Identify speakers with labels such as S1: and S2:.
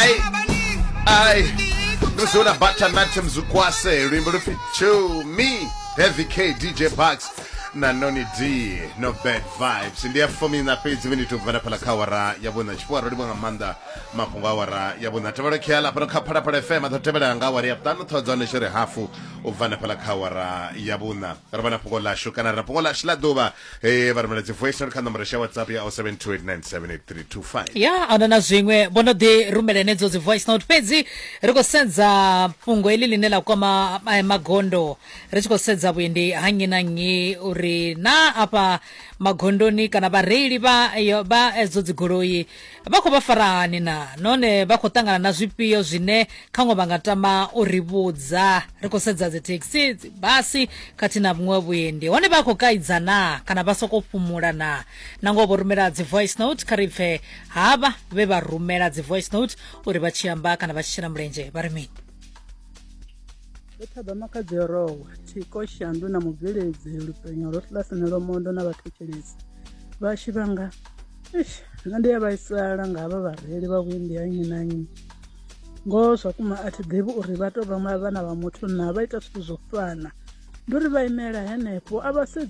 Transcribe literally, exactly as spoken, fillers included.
S1: Ai ai, ndozona Butternut Mzukwase, luimbo lupfi Chumi, Heavy K, D J Bucks na Noni D, No Bad Vibes. Ndi ya fumi na fhedzi miniti ubva fhala kha awara ya vhuṋa. Tshifhiwa ro livha nga maanḓa mafhungo a awara ya vhuṋa tevhelo khiala fhano kha Phalaphala F M a ḓo tevhela nga awara ya vhuṱanu. Ṱhoho dza hone tshi ri hafu u bva hanefhaḽa kha awara ya vhuṋa ri vha na fhungo ḽashu kana ri na fhungo ḽashu ḽa ḓuvha. eh vha rumela dzi voice note kha nomboro ya WhatsApp ya zero seven two eight nine seven eight three two five.
S2: Ya, ahuna na zwiṅwe, vho no ḓi rumela henedzo dzi voice note, fhedzi ri khou sedza fhungo heḽi ḽine ḽa kwama eh, magondo, ri tshi khou sedza vhuendi ha nnyi na nnyi, uri na afha magondoni kana vhareili vha yo- vha edzo dzigoloi vha khou vha fara hani, na nahone vha khou ṱangana na zwifhio zwine khaṅwe vha nga tama u ri vhudza. Ri khou sedza dzi thekhisi, dzi basi khathihi na vhuṅwe vhuendi, hone vha khou kaidza na kana vha sokou fhumula na. Nangoho vho rumela dzi voice note, kha ri pfe havha vhe vha rumela dzi voice note uri vha tshi amba kana vha tshi shela mulenzhe vha ri mini.
S3: Ndo thaba Makhadzi Rowa Thiko Shandu na mubveledzi Lupenyo ro kilasini Lomondo na vhathetshelesi vhashu vhanga. Eish, nṋe ndi a vhaisala nga havha vhareili vha vhuendi ha nnyi na nnyi. Ngoho zwa kuma a thi ḓivhi uri vha tou vha vhana vha muthu na vha ita zwithu zwo fana, ndi uri vha imela henefho a vha sedzi.